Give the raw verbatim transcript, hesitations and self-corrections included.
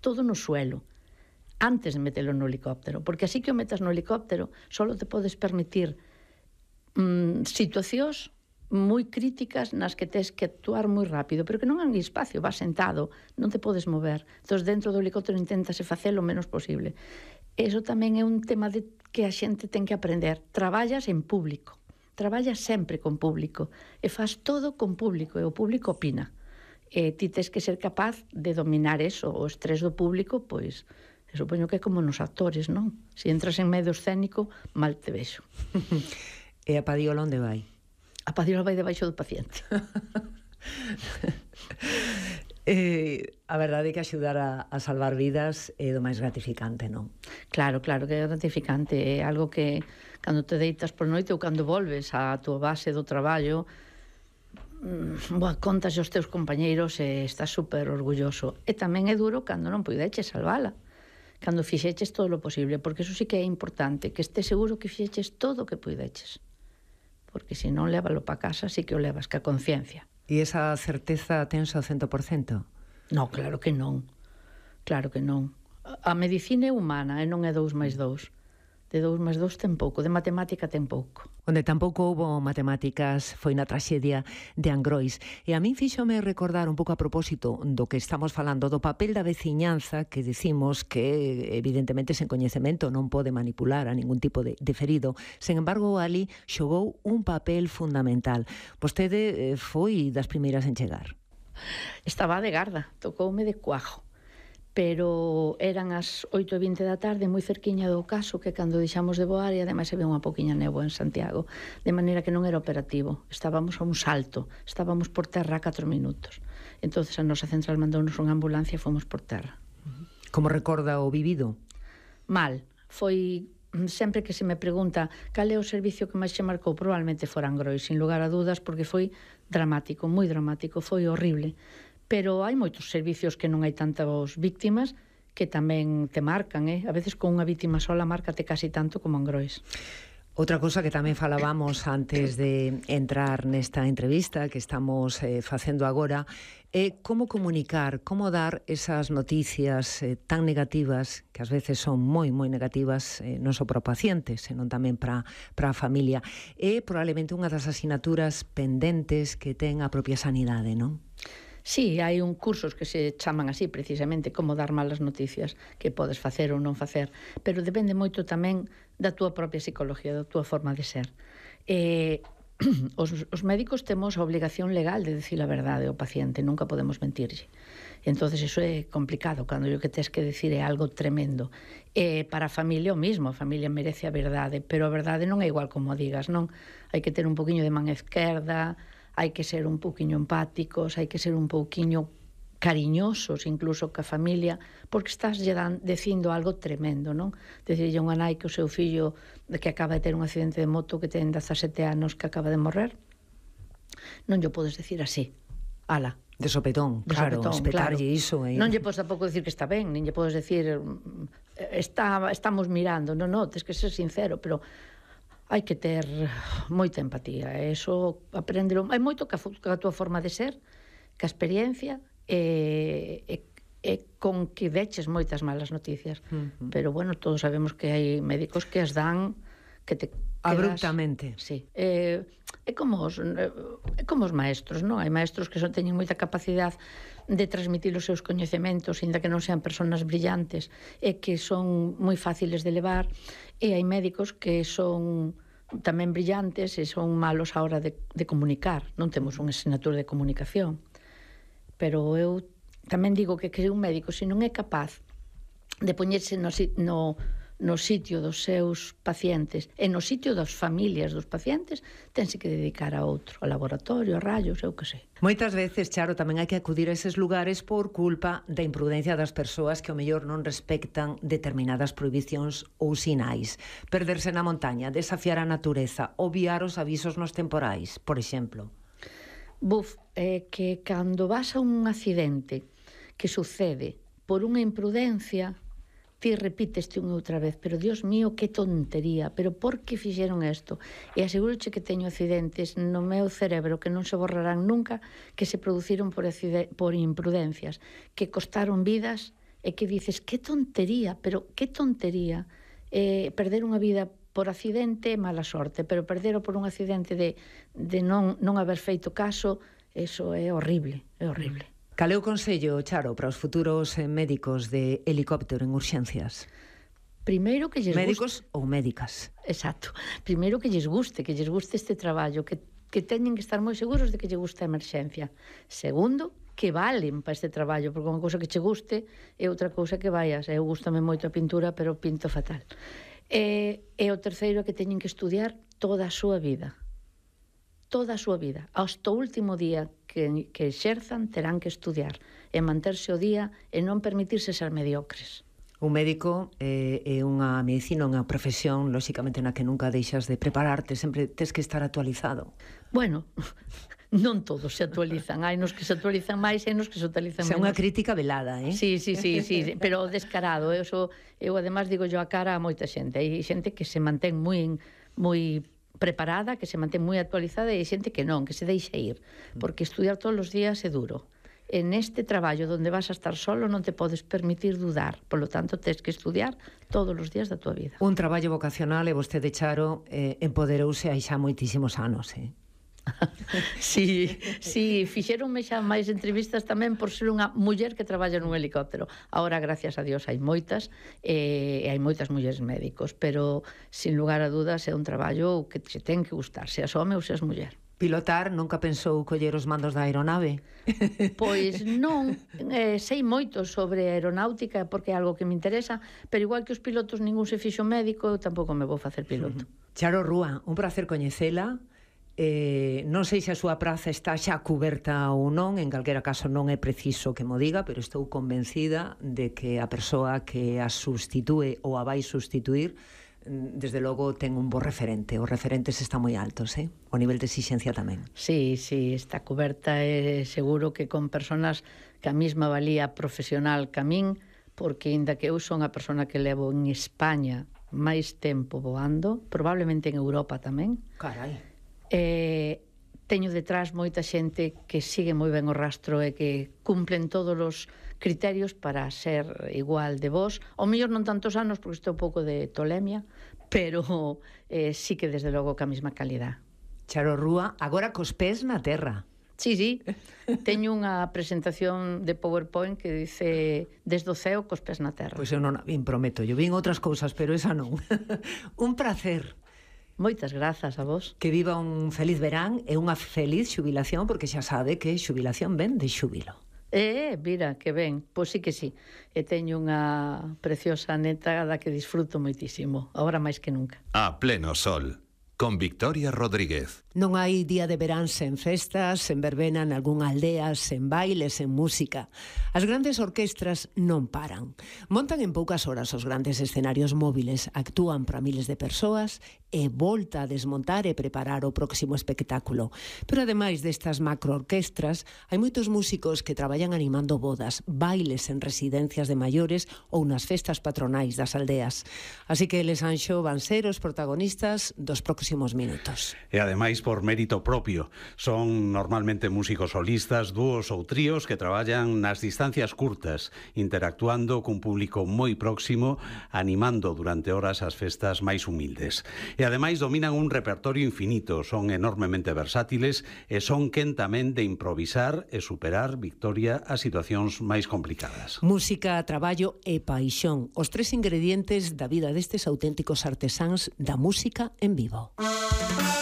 todo no suelo, antes de metelo no helicóptero, porque así que o metas no helicóptero, solo te podes permitir mm, situacións moi críticas nas que tes que actuar moi rápido, pero que non hai espacio, vas sentado, non te podes mover. Entón, dentro do helicóptero intentase facelo o menos posible. Eso tamén é un tema de que a xente ten que aprender. Traballas en público, traballas sempre con público, e faz todo con público, e o público opina. E ti tes que ser capaz de dominar eso, o estrés do público, pois, supoño que é como nos actores, non? Se entras en medio escénico, mal te vexo. E a padiola onde vai? A padiola vai debaixo do paciente. eh, a verdade é que axudar a, a salvar vidas é do máis gratificante, non? Claro, claro que é gratificante. É algo que, cando te deitas por noite ou cando volves á tua base do traballo, boa, contas aos teus compañeiros e estás super orgulloso. E tamén é duro cando non puideches salvala, cando fixeches todo o posible, porque eso sí que é importante, que estés seguro que fixeches todo o que puideches, porque se non lévalo pa casa sí que o levas ca conciencia. E esa certeza tense ao cento por cento? Non, claro que non, claro que non. A medicina é humana e non é dous máis dous. De dous máis dous ten pouco, de matemática ten pouco. Onde tampouco houbo matemáticas foi na traxedia de Angrois. E a min fíxome recordar un pouco a propósito do que estamos falando, do papel da veciñanza, que dicimos que evidentemente sen coñecemento non pode manipular a ningún tipo de, de ferido. Sen embargo, ali xogou un papel fundamental. Vostede foi das primeiras en chegar. Estaba de garda, tocoume de cuajo, pero eran as oito e vinte da tarde, moi cerquiña do caso, que cando deixamos de voar, e ademais se ve unha poquinha néboa en Santiago, de maneira que non era operativo. Estábamos a un salto, estábamos por terra a catro minutos. Entonces a nosa central mandounos unha ambulancia e fomos por terra. Como recorda o vivido? Mal. Foi, sempre que se me pregunta cal é o servicio que máis che marcou, probablemente fora Angrois, sin lugar a dudas, porque foi dramático, moi dramático, foi horrible. Pero hai moitos servicios que non hai tantas víctimas que tamén te marcan, eh? A veces con unha víctima sola márcate casi tanto como Angrois. Outra cosa que tamén falábamos antes de entrar nesta entrevista que estamos eh, facendo agora é como comunicar, como dar esas noticias eh, tan negativas, que ás veces son moi, moi negativas, eh, non só para o paciente, senón tamén para, para a familia. É probablemente unha das asignaturas pendentes que ten a propia sanidade, non? Sí, hai un cursos que se chaman así, precisamente, como dar malas noticias, que podes facer ou non facer, pero depende moito tamén da túa propia psicología, da túa forma de ser. Eh, os, os médicos temos a obligación legal de decir a verdade ao paciente, nunca podemos mentirlle. Entonces iso é complicado, cando o que tes que decir é algo tremendo. E para a familia o mismo, a familia merece a verdade, pero a verdade non é igual como digas, non? Hai que ter un poquinho de man esquerda, hai que ser un pouquiño empáticos, hai que ser un pouquiño cariñosos incluso ca familia, porque estás lle dan, dicindo algo tremendo, non? Decirlle a unha nai que o seu fillo que acaba de ter un accidente de moto, que ten dezasete anos, que acaba de morrer, non lle podes decir así, ala. De sopetón, de claro, sopetón, espetarlle claro. iso. Eh. Non lle podes tampouco decir que está ben, nin lle podes decir está, estamos mirando, non, non, tens que ser sincero, pero hai que ter moita empatía, e iso aprendelo, hai moito que a, que a túa forma de ser, que a experiencia e, e, e con que deches moitas malas noticias. Uh-huh. Pero bueno, todos sabemos que hai médicos que as dan que te quedas, abruptamente. Sí. É, é como os é como os maestros, non? Hai maestros que son teñen moita capacidade de transmitir os seus coñecementos, inda que non sean persoas brillantes, e que son moi fáciles de levar, e hai médicos que son tamén brillantes e son malos á hora de, de comunicar. Non temos unha asignatura de comunicación. Pero eu tamén digo que que un médico, se non é capaz de poñerse no, no no sitio dos seus pacientes e no sitio das familias dos pacientes, tense que dedicar a outro, a laboratorio, a rayos, eu que sei. Moitas veces, Charo, tamén hai que acudir a eses lugares por culpa da imprudencia das persoas que ao mellor non respectan determinadas prohibicións ou sinais. Perderse na montaña, desafiar a natureza, obviar os avisos nos temporais, por exemplo. Buf, é que cando vas a un accidente que sucede por unha imprudencia, ti repíteste unha outra vez, pero Dios mío, que tontería, pero por que fixeron isto? E aseguroche que teño accidentes no meu cerebro que non se borrarán nunca, que se produciron por, por imprudencias, que costaron vidas e que dices, que tontería, pero que tontería eh, perder unha vida por accidente, mala sorte, pero perdero por un accidente de, de non, non haber feito caso, eso é horrible, é horrible. Cal é o consello, Charo, para os futuros eh, médicos de helicóptero en urxencias? Primeiro que lles médicos guste... ou médicas. Exacto. Primeiro que lles guste, que lles guste este traballo, que, que teñen que estar moi seguros de que lle gusta a emerxencia. Segundo, que valen para este traballo, porque unha cousa que che guste é outra cousa que vayas. Eu gustame moito a pintura, pero pinto fatal. E, e o terceiro é que teñen que estudiar toda a súa vida. Toda a súa vida. Hasta o último día que, que exerzan terán que estudiar e manterse o día e non permitirse ser mediocres. Un médico eh, é unha medicina, unha profesión, lóxicamente, na que nunca deixas de prepararte, sempre tes que estar actualizado. Bueno, non todos se actualizan, hai nos que se actualizan máis e nos que se actualizan menos. É unha crítica velada, eh? Sí, sí, sí, sí, pero descarado. Eu, so, eu además digo yo a cara a moita xente. Hai xente que se mantén moi moi preparada, que se mantén moi actualizada, e hai xente que non, que se deixa ir, porque estudiar todos os días é duro. En este traballo onde vas a estar solo non te podes permitir dudar, polo tanto tens que estudiar todos os días da tua vida. Un traballo vocacional, e vostede, Charo, eh, empoderouse hai xa moitísimos anos, eh? Sí, sí, fixeronme xa máis entrevistas tamén por ser unha muller que traballa nun helicóptero. Ahora, gracias a Dios, hai moitas, e hai moitas mulleres médicos, pero, sin lugar a dudas, é un traballo que se ten que gustar, seas home ou seas muller. Pilotar, nunca pensou coller os mandos da aeronave? Pois non, eh, sei moito sobre aeronáutica porque é algo que me interesa, pero igual que os pilotos ningún se fixo médico, eu tampouco me vou facer piloto. Charo Rúa, un placer coñecela. Eh, non sei se a súa praza está xa cuberta ou non, en calquera caso non é preciso que mo diga, pero estou convencida de que a persoa que a substitúe ou a vai substituir, desde logo ten un bo referente. Os referentes están moi altos, eh? O nivel de exixencia tamén. Sí, sí, está cuberta, e seguro que con personas que a mesma valía profesional que a min, porque inda que eu son a persona que levo en España máis tempo voando, probablemente en Europa tamén. Carai. Eh, teño detrás moita xente que sigue moi ben o rastro e que cumplen todos os criterios para ser igual de vos. O mellor non tantos anos, porque estou un pouco de tolemia, pero eh, sí que desde logo ca mesma calidad. Charo Rúa, agora cos pés na terra. Sí, sí, teño unha presentación de PowerPoint que dice desde o ceo cos pés na terra. Pois eu non a vin, prometo, eu vin outras cousas, pero esa non. Un placer. Moitas grazas a vos. Que viva un feliz verán e unha feliz xubilación, porque xa sabe que xubilación ven de xúbilo. Eh, mira, que ben, pois sí que sí. E teño unha preciosa neta da que disfruto moitísimo, agora máis que nunca. A pleno sol, con Victoria Rodríguez. Non hai día de verán sen festas, sen verbena nalgúna aldea, sen bailes, sen música. As grandes orquestras non paran. Montan en poucas horas os grandes escenarios móviles, actúan para miles de persoas e volta a desmontar e preparar o próximo espectáculo. Pero ademais destas macroorquestras, hai moitos músicos que traballan animando bodas, bailes en residencias de maiores ou nas festas patronais das aldeas. Así que eles, Anxo, van ser os protagonistas dos próximos minutos. E ademais, por mérito propio, son normalmente músicos solistas, dúos ou tríos que traballan nas distancias curtas, interactuando cun público moi próximo, animando durante horas as festas máis humildes. E ademais dominan un repertorio infinito, son enormemente versátiles e son quen tamén de improvisar e superar, Victoria, as situacións máis complicadas. Música, traballo e paixón, os tres ingredientes da vida destes auténticos artesáns da música en vivo.